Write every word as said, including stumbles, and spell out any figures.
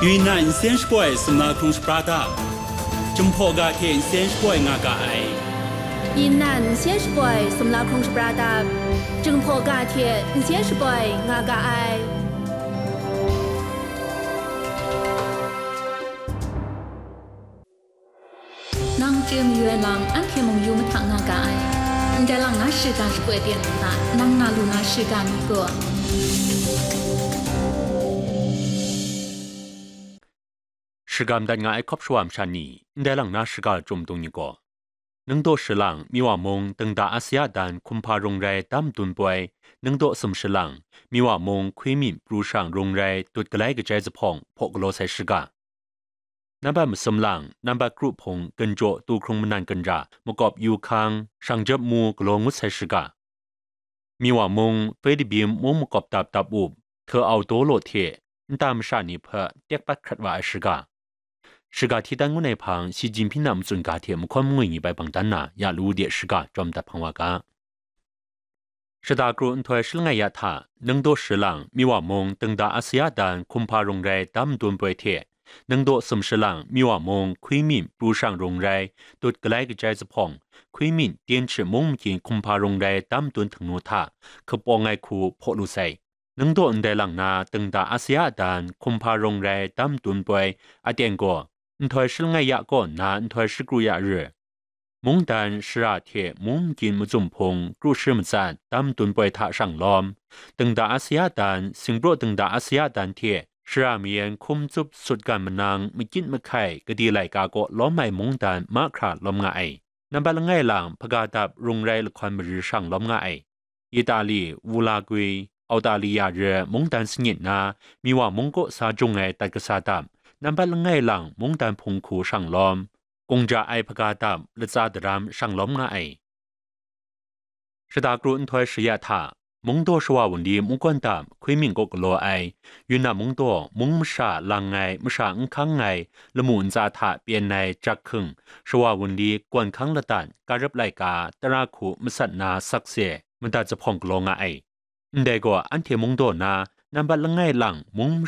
Yunnan nsen shapoi sumla hkrung shapra dap, Jinghpaw ga hte nsen shapoi nga ga ai. Yunnan nsen shapoi sumla hkrung shapra dap, Jinghpaw ga hte nsen shapoi nga ga ai. Nang chye mayu ai lam, anhte mung yu mahtang nga ga ai. Ndai lang na shiga shapoi ten hta, nang na lu na shiga myit gaw, shiga madat nga ai hkawp shawa masha ni, ndai lang na shiga lachyum dung ni gaw, Ningdaw Shilang, Miwa Mung, Dengda Asia dan hkum hpa rung rai dam dun poi, Ningdaw Sum Shilang, Miwa Mung, Hkwi Myint, Pru Shang rung rai dut galai kajai zuphpawng hpaw galaw sai shiga. Nambat masum lang, nambat kru hpung, ginjaw, tu hkrung manan ginra, makawp yu hkang, shang jep mu galaw ngut sai shiga. Miwa mung, Pei Dabim mung makawp dap dap up, hte au daw law hte, nta masha ni hpe tek pat hkrat wa ai shiga. Shiga hti dan ngut ai hpang, Xi Jinping a matsun ga hte mahkawn mangwi ni bai bang dan na, ya lu de shiga, jawm dat hpang wa ga. Shada kru nhtoi shi langai ya hta, Ningdaw Shilang, Miwa mung, Dengda Asia dan hkum hpa rung rai dam dun poi hte, Ningdaw Sum Shilang, Miwa mung, Hkwi Myint, Pru Shang rung rai dut galai kajai zuphpawng, Hkwi Myint, Tyen Hti mung makin hkum hpa rung rai dam dun htingnu hta, hkapawng ai hku hpaw lu sai. Ningdaw ndai lang na, Dengda Asia dan hkum hpa rung rai dam dun poi, aten gaw, nhtoi shi langai ya kaw nna nhtoi shi kru ya ri, mungdan shara hte mung makin mazum hpung kru shi matsat dam dun poi hta shang lawm, Dengda Asia dan, Singpraw Dengda Asia dan hte shara mayan hkum tsup sut gan manang makyit mahkai gade laika kaw lawm ai mungdan mahkra lawm nga ai. Nambat langai lang hpaga dap rung rai lahkawn mari shang lawm nga ai. Itali, Wulagwi, Autaliya re mungdan sanit na, Miwa mung kaw sa jung ai dat kasa dap, nambat langai lang mungdan hpung hku shang lawm, kungja ai hpaga dap latsa daram shang lawm nga ai. Shada kru nhtoi shi ya hta, Mungdaw shawa wunli mungkawn dap Hkwi Myint kaw galaw ai, Yunnan Mungdaw mung masha lang ai masha n hkang ai lamu ntsa hta pyen ai jak hking shawa wunli kawn hkang ladan karap laika tara hku masat na sakse madat zuphpawng galaw nga ai. Ndai gaw anhte Mungdaw na nambat langai lang mung